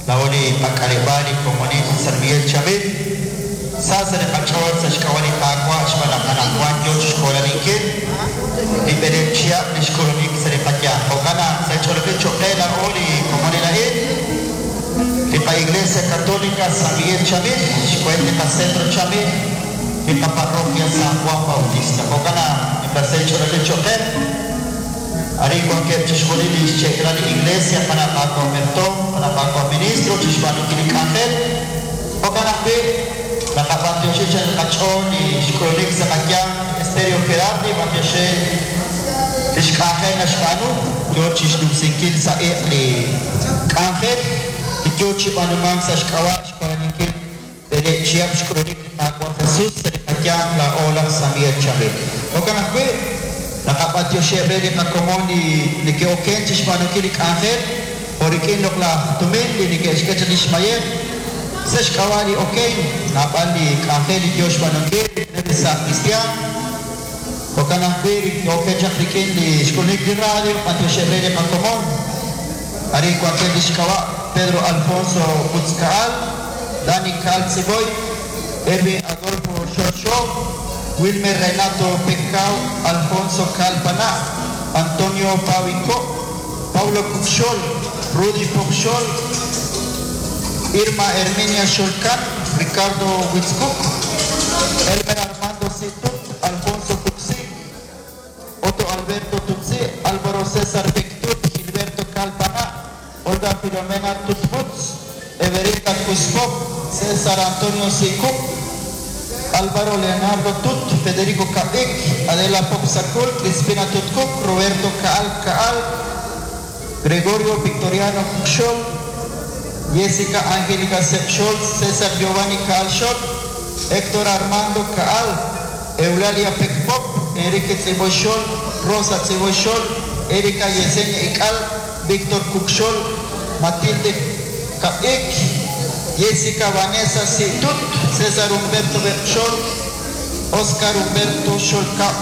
Laa'o li qak'aleb'aal li komonil San Miguel Chamil, sa sa' li qach'ool sa' xk'ab'a' li Qaawa' xb'aan naq anaqwan yo chi xkoolaninkil li b'eleeb' chihab' li xk'ulunik sa' li qayanq. Jo'kan naq sa' ch'oolejil cho'q qe laa'o li komonil a'in, li qa-Iglesia Católica San Miguel Chamil, xweent li qa-Centro Chamil, li qa-Parroquia San Juan Bautista. Jo'kan naq nimla sahil ch'oolejil cho'q qe. Arin wankeb' chixjunil li xche'k'ilal li Iglesia, qana' Qaawa' Mertoom, qana' Qaawa' Ministro, chixb'aanunkil li k'anjel. Jo'kan ajwi', naqab'antioxi chi anchal qach'ool li xk'ulunik sa' qayanq Stereo Gerardi, b'antiox re li xk'anjel naxb'aanu, yoo chixnumsinkil sa' iq' li k'anjel li yoo chi b'aanumank sa' xk'ab'a' xjoloninkil B'eleeb' chihab' xk'ulunik li Qaawa' Jesus sa' li qayanq laa'o laj San Miguel Chamil. Jo'kan ajwi', naqab'antioxiheb' re li qakomon li neke'oken chixb'aanunkil li k'anjel jo' rik'in loq'laj tumin li neke'xk'e chaq lix mayej. Sa' xk'ab'a' li okenk, naab'al li k'anjel li yoo xb'aanunkil rik'ineb' li saaj kristiaan. Jo'kan ajwi' li oken chaq rik'in li xk'ulunik li radio, b'antioxiheb' re li qakomon. Arin wankeb' lix k'ab'a' Pedro Alfonso Butzcaal, Dani Caal Tziboy, Erwin Adolfo Xol Xo, Wilmer Renato Pekao, Alfonso Caal Pana', Antonio Pawi Ko', Pablo Cucxol, Rudy Pocxol, Irma Herminia Xolcan, Ricardo Witzcook, Elmer Armando Situt, Alfonso Cuxi, Otto Alberto Tutsi, Álvaro César Pectut, Gilberto Calpana, Olga Filomena Tutbutz, Everita Cuscop, César Antonio Sicup, Álvaro Leonardo Tut, Federico Cabic, Adela Popsacul, Crispina Tutcuc, Roberto Caal Caal, Gregorio Victoriano Cucxol, Jessica Angélica Sepxol, César Giovanni Caal Xol, Héctor Armando Caal, Eulalia Pecpop, Enrique Tziboy Xol, Rosa Tziboy Xol, Erika Yesenia Ical, Víctor Cucxol, Matilde Cabic, Jessica Vanessa Situt, César Humberto Berchol, Oscar Humberto Xolcap,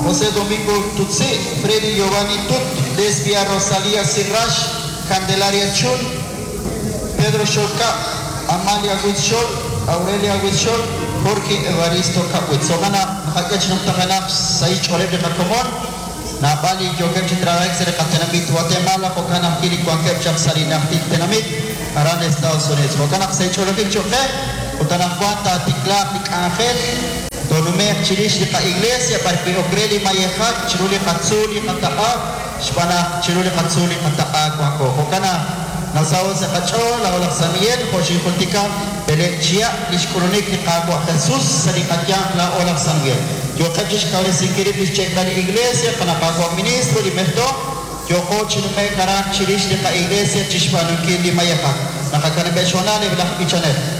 José Domingo Tutsi, Freddy Giovanni Tut, Lesbia Rosalía Sirrash, Candelaria Chul, Pedro Xolcap, Amalia Huitzxol, Aurelia Huitzxol, Jorge Evaristo Capuitz. Jo'kan naq naqak'e chi numtajenaq xsahil xch'ooleb' li qakomon, naab'al li yookeb' chi trabajik sa' li qatenamit Guatemala, jo'kan ajwi' li wankeb' chaq sa' li najtil tenamit aran Estados Unidos. Jo'kan naq sa' ch'oolejil cho'q qe, ut anaqwan taatiklaaq li k'anjel, toonume'q chirix li qa-iglesia b'arwi' ok re li mayejak chiru li qatzuul li qataq'a, xb'aan naq chiru li qatzuul li qataq'a wanko. Jo'kan naq nasaho' sa' qach'ool laa'o laj San Miguel, jo' xinjultika, b'eleeb' chihab' li xk'ulunik li Qaawa' Jesus sa' li qayanq laa'o laj San Miguel. Yooqeb' chixkawresinkil rib' li xche'kal li Iglesia, qana' Qaawa' Ministro, li mertoom, yooqo chi nume'k aran chirix li qa-iglesia chixb'aanunkil li mayejak. Naqakanab'eb' xhoonal eb' laj b'ichanel.